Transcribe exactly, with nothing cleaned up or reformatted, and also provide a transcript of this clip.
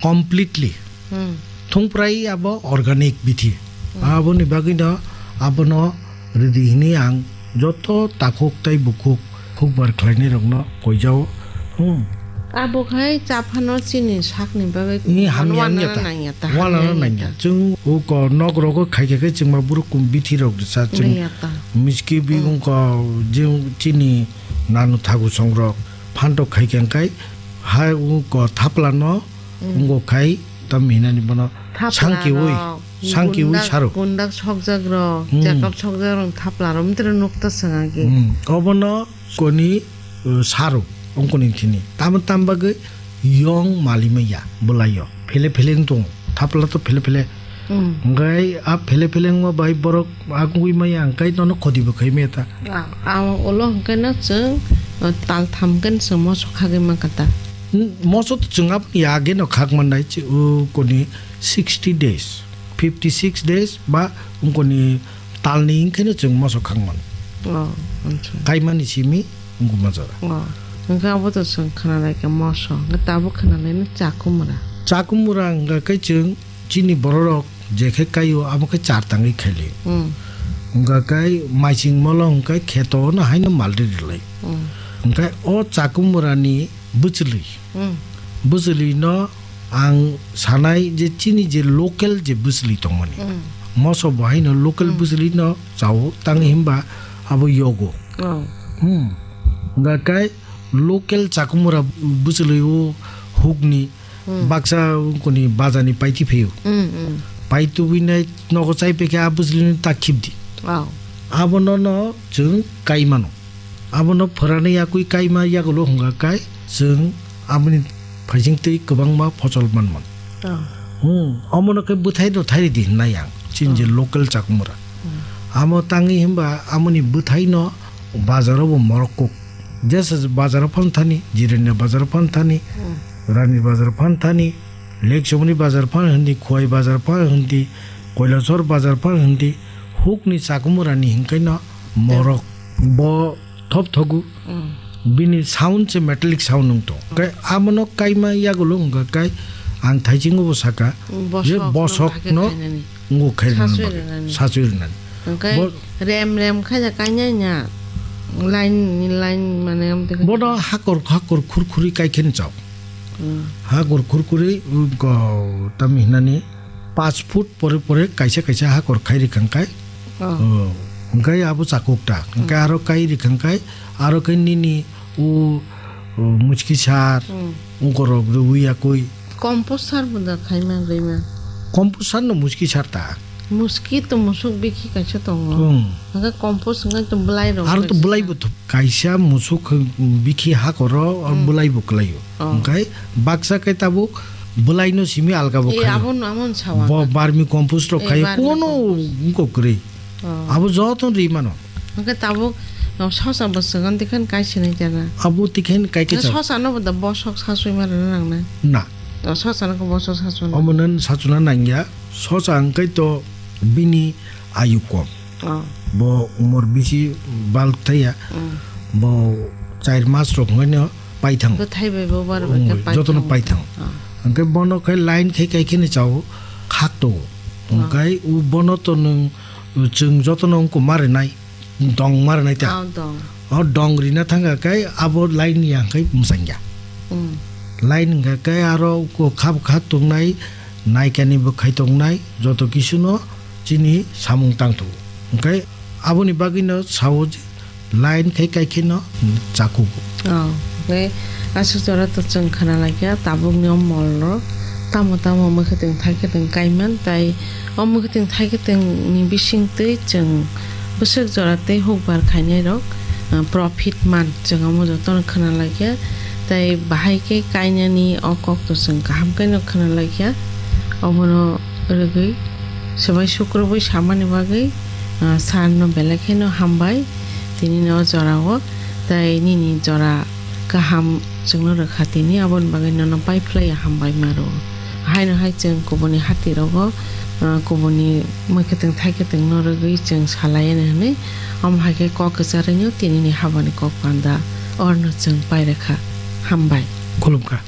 completely. Hmm. Thungprai abo organic bithi. Hmm. Aboni bagwino abono rwdi hwnwi ang joto takhuk tei bukhuk hukbar khlainairokno koijao. Hmm. Abo khai chaphano chini sakni bagwi Ni hamya wanana wngya ta. nangya ta, Wanana hamya wngya nangya. ta. Chwng uko nok rogo khaikhe khe chwngma borok kum bithi rok rwsa chwng Nangya ta. miski bi Hmm. wngko je chini nanu thagu songrok phantok khaikhe kai ha uko thaplano Hmm. Wngkok khai tam hinani bono Thapla sangkiwi, rok, sangkiwi gundak, saro. gundak sokjak rok, Hmm. chekap sokjak rok thapla rok mitra nukta sanga ki. Hmm. Obono koni, uh, saro, ongkoni thini. Tamo tam bagwi yong mali maya, bwlayo. Phele phele wng tongo. Thapla to phele phele. Hmm. Hwnkhe a phele phele wngma bai borok agwi maya, hwnkhe nono khoti bo khai maya ta. A, a, ulo hwnkhe no chwng, uh, tal tham khe no chwng moso khagwi mankha ta. Hmm, moso to chwng aboni age no khak mannai, chi-, o koni sixty days, fifty six days ba wngkoni talni wngkhe no chwng moso khak mano. Oh, acha. Kaimani simi wngkuma jora. Oh, hwnkhe abo to chwng khwnalai kha moso, hwnkhe tabuk khwnalai no chakumura. Chakumura hwnkha khe chwng chini bororok je khe kaio abo khe char tangwi khaili. Hmm. Hwnkha khe maising molo hwnkhe kheto no haino malri rwlai. Hmm. Hwnkhe o chakumurani bwchwlwi. Hmm. Bwchwlwino ang sanai je chini je local je bwchwlwi tongmani. Hmm. Moso bo haino local Hmm. bwchwlwino chao tang himba abo yogo. Oh. Hmm. Hwnkha khe local chakumura bwchwlwi o hukni Hmm. baksa koni bazarni paiti phio. Hmm, hmm. Paitubui nai nogo chai pekhe a bwchwlwino ta khibdi. Oh. Abono no chwng kai mano. Abono phwrani yakui kaima yagulo hwnkha kai chwng aboni phaising twi kwbangma phosol man mano. Oh. Hmm, omono khe bwthai no thairidi hwnnai ang, chini je Oh. local chakumura. Hmm. Amo tangwi himba amoni bwthai no bazaro bo morok kuk. Jesa bazaro phan thani, Jirania bazaro phan thani, Hmm. Rani bazaro phan thani, Lekchomoni bazar phan hindi, Khowai bazar phan hindi, Koilasor bazar phan hindi, hukni chakumurani hinkaino morok bo thop thogu. Mm. Bini sound se metallic sound wng tong. Kai abono kaima yagulo wngkha kai ang thaiching bo saka je Bosok no bosok kha khe no khainani. Ngo khairina Sasui bagwi, rinani. Sasui rinani. Hwnkhe Bo- rem rem khaida kainai na. Line ni line mane amtwi khe. Bono hakor hakor khurkhuri kaikheni chao. Hmm. Hakor khurkhuri, uh, go, tam hinani paanch foot pore pore kaisa kaisa hakor khairi khangkai. Oh. Oh, hwnkhe abo chakuk ta. Hwnkhe Hmm. aro kairi khangkai, aro khe nini u, u muchki sar, Hmm. ungkorok rwui yakui. Compost sar bo da khaima rwima. Compost sar no muchki sar ta. Muchki to musuk bikhi kaisa tongo. Hmm. Hwnkhe compost hwnkhe to bwlai rok Aro to kaisa. Bwlai bo to kaisa musuk bikhi hakoro Hmm. bwlai bo kwlaio. Oh. Hwnkhe baksa khe tabuk bwlai no simi alga bo Eh, khaio. Abo no, amo no sawa Bo ka. Barmi compost rok Eh, khaio. Barmi Kono compost. Wngko kwrwi. Oh. Abo joto rwi mano. Hwnkhe tabuk, no, sosa bo swkang tikhan kai sinai jana. Abo tikhen kai khe Na chao. Sosa no bo da bosok sasui ma rwna nang na. Na. O sosa no khe bosok sasui na. Omo nan sachuna nangya. Sosa hwnkhe to bini ayu kom. Oh. Bo umor bisi bal thaya. Mm. Bo char mas rok hwnkhe no paithang. Bwthai bai bo bar bai khe Mm, paithang. Jotono paithang. Ah. Hwnkhe bono khe line khe kai kheno chao khak to. Ah. Hwnkhe u bono to nwng chwng jotono wngkuk ma rwnai, dong ma rwnai ta. Ah, dong. O dong rina thangkha khe abo line ya khe mwsangya. Mm. Line hwnkha khe aro ko khap khak tongnai, naikani bwkhai tongnai, joto kisuno chini samung tangthogo. Hwnkhe aboni bagwino sao je, line khai kai kheno chakugo. Oh, hwnkhe aswk jora to chwng khana laikha tabukni o molno tamo tamo mwkhwtwng thaikhe twng kaiman, tai o mwkhwtwng thaikhe twngni bisingtwi chwng bwswk jora tei hukbar khainairok, ah, profit man, chwng omo jotono khana laikha. Tai bahai khe kainani o kok to chwng kaham kheno khana laikha. Obono rwgwi swbai sukrubwi samani bagwi, ah, sir no belai kheno hambai tini no o jorao, tai nini jora kaham chwngno rwkha tini, aboni bagwi nono pai phlaiya hambai ma rwo. Haino hai chwng kubuni hati rogo, ah, kubuni mwkhwtwng thaikhetwng no rwgwi chwng salai ani hwnwi, omo hai khe kok kwcharwi no tini ni habani kok panda orno chwng pai rwkha. Hambai. Khulumkha.